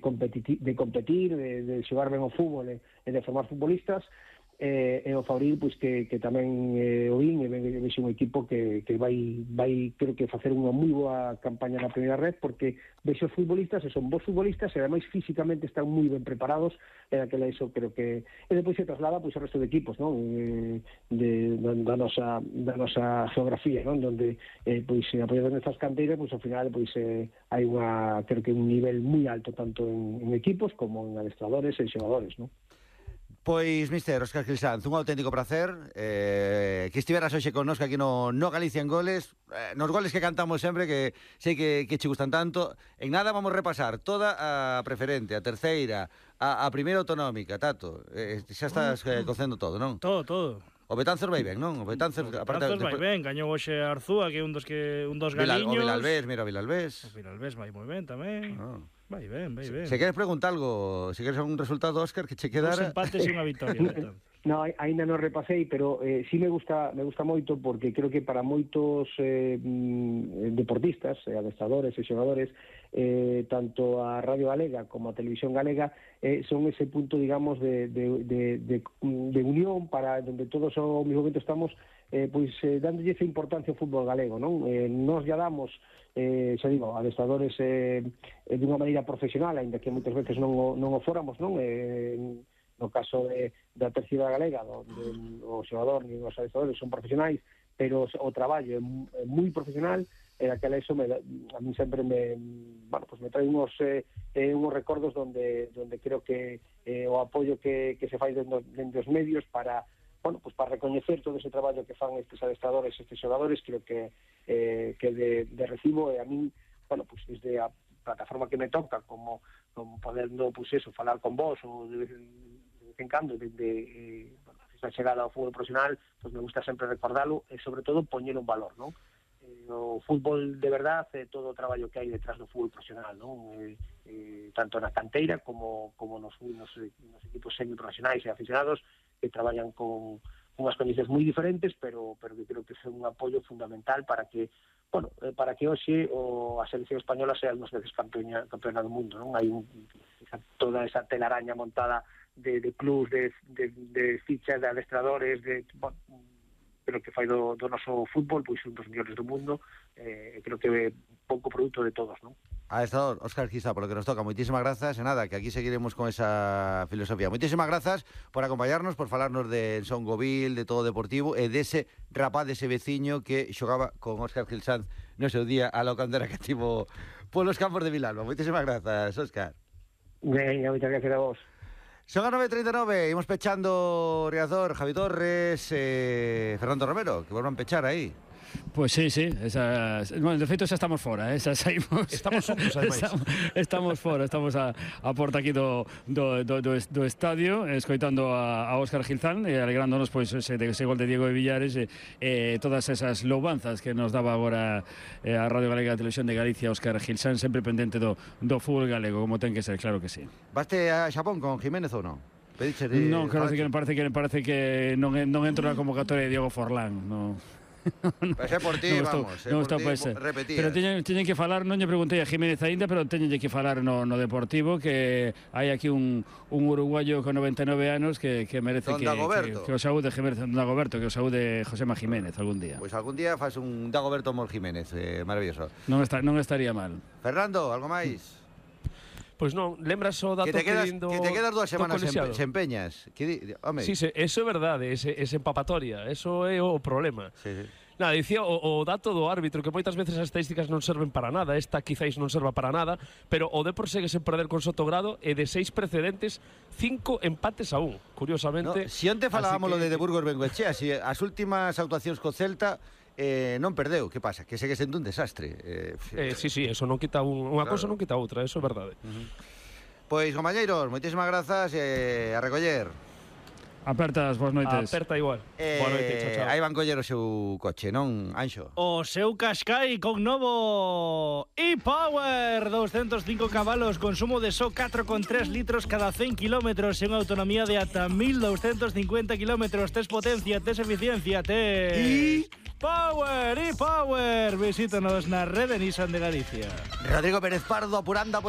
competir, de xogar ben o fútbol e de formar futbolistas, e o Fabril pois que tamén o vin e vexe un equipo que vai creo que facer unha moi boa campaña na primeira red, porque vexe os futbolistas e son bons futbolistas e ademais físicamente están moi ben preparados, e aquela iso creo que e depois se traslada pois ao resto de equipos, non? Da nosa geografía, non? Donde pois apoiando nestas canteiras, pois ao final pois hai unha creo que un nivel moi alto tanto en equipos como en adestradores e xogadores, non? Pois, mister Óscar Gil Sanz, un auténtico placer que estiveras hoxe connosco aquí no Galicia en Goles, nos goles que cantamos sempre, que sei que che gustan tanto. En nada vamos repasar toda a preferente, a terceira, a primeira autonómica, Tato. Xa estás cocendo todo, non? Todo. O Betanzos vai ben, non? O Betanzos vai ben, gañou hoxe Arzúa, que é un dos galiños. O Vilalbés, mira o Vilalbés. O Vilalbés vai moi ben tamén. Vai ben. Se queres preguntar algo, se queres algún resultado, Óscar, que che quedara... 2 empates e unha victoria. No, ainda non repasei, pero sí me gusta moito, porque creo que para moitos deportistas, adestradores e xogadores, tanto a Radio Galega como a Televisión Galega son ese punto, digamos, de unión para donde todos ao mesmo momento estamos dándolle esa importancia ao fútbol galego, non? Nos ya damos, xa digo, adestradores dunha maneira profesional, aínda que moitas veces non o fóramos, non? No caso da terceira galega, onde o xogador e os adestradores son profesionais, pero o traballo é moi profesional, e aquela iso a mí sempre me trae uns recordos donde creo que o apoio que se fai dentro dos medios para recoñecer todo ese traballo que fan estes adestradores, estes xogadores, creo que de recibo, e a mí, desde a plataforma que me toca, como podendo, falar con vos, ou de vez en cando, desde esa chegada ao fútbol profesional, me gusta sempre recordalo, e sobre todo poñelo en valor, non? O fútbol de verdade, todo o traballo que hai detrás do fútbol profesional, non? Tanto na canteira como nos equipos semiprofesionais e aficionados, que traballan con unhas condicións moi diferentes, pero que creo que é un apoio fundamental para que hoxe a selección española sea unhas veces campeona do mundo, non? Hai toda esa telaraña montada de clubs, de fichas, de adestradores, pero que fai do noso fútbol pois un dos mellores do mundo, creo que é pouco produto de todos, non? Adestrador Óscar Gil Sanz, por lo que nos toca, moitísimas grazas, e nada, que aquí seguiremos con esa filosofía. Moitísimas grazas por acompañarnos, por falarnos de Son Govil, de todo o deportivo, e dese rapaz, dese veciño que xogaba con Óscar Gil Sanz no seu día a locandera que tivo polos campos de Vilalba. Moitísimas grazas, Óscar. Venga, moitas gracias a vos. Son a 9:39, imos pechando Riazor, Javi Torres, Fernando Romero, que volvan pechar aí. Pois sí, bueno, de feito xa estamos fora, xa saímos. Estamos juntos, ademais. Estamos fora, estamos a porta aquí do estadio, escoitando a Óscar Gil Sanz e alegrándonos pois ese gol de Diego de Villares e todas esas loubanzas que nos daba agora a Radio Galega, a Televisión de Galicia, Óscar Gil Sanz, sempre pendente do fútbol galego, como ten que ser, claro que sí. Vaste a Xapón con Jiménez ou non? Non, claro que me parece que non entro na convocatoria de Diego Forlán, non. Pois é por ti, vamos, repetir. Pero teñen que falar, non lle preguntei a Jiménez aínda, pero teñenlle que falar no Deportivo, que hai aquí un uruguayo con 99 anos que merece que o saúde Jiménez, Don Dagoberto, que o saúde Josema Jiménez algún día. Pois algún día faz un Dagoberto Mor Jiménez, maravilloso. Non estaría mal. Fernando, algo máis? Pois non, lembras o dato que te quedas 2 semanas sen peñas. Sí, eso é verdade, ese empapatoria, eso é o problema. Sí. Nada, dicía o dato do árbitro, que moitas veces as estadísticas non serven para nada, esta quizáis non serva para nada, pero o Depor segue sen perder con Sotogrado, e de 6 precedentes, 5 empates a 1, curiosamente. Si onte falábamos lo de Burgos Bengoechea, si as últimas actuacións co Celta non perdeu, que pasa? Que segue sendo un desastre. Sí, eso non quita unha cousa, non quita outra, eso é verdade. Pois, compañeiros, moitísimas grazas e a recoller. Apertas, boas noites. Aperta igual. Boa noite, chao. Aí van coller o seu coche, non, Anxo? O seu Qashqai con novo e-Power, 205 cabalos, consumo de só 4,3 litros cada 100 kilómetros e unha autonomía de ata 1250 kilómetros. Tes potencia, tes eficiencia, tes... e-Power, visítanos na rede Nissan de Galicia. Rodrigo Pérez Pardo apurando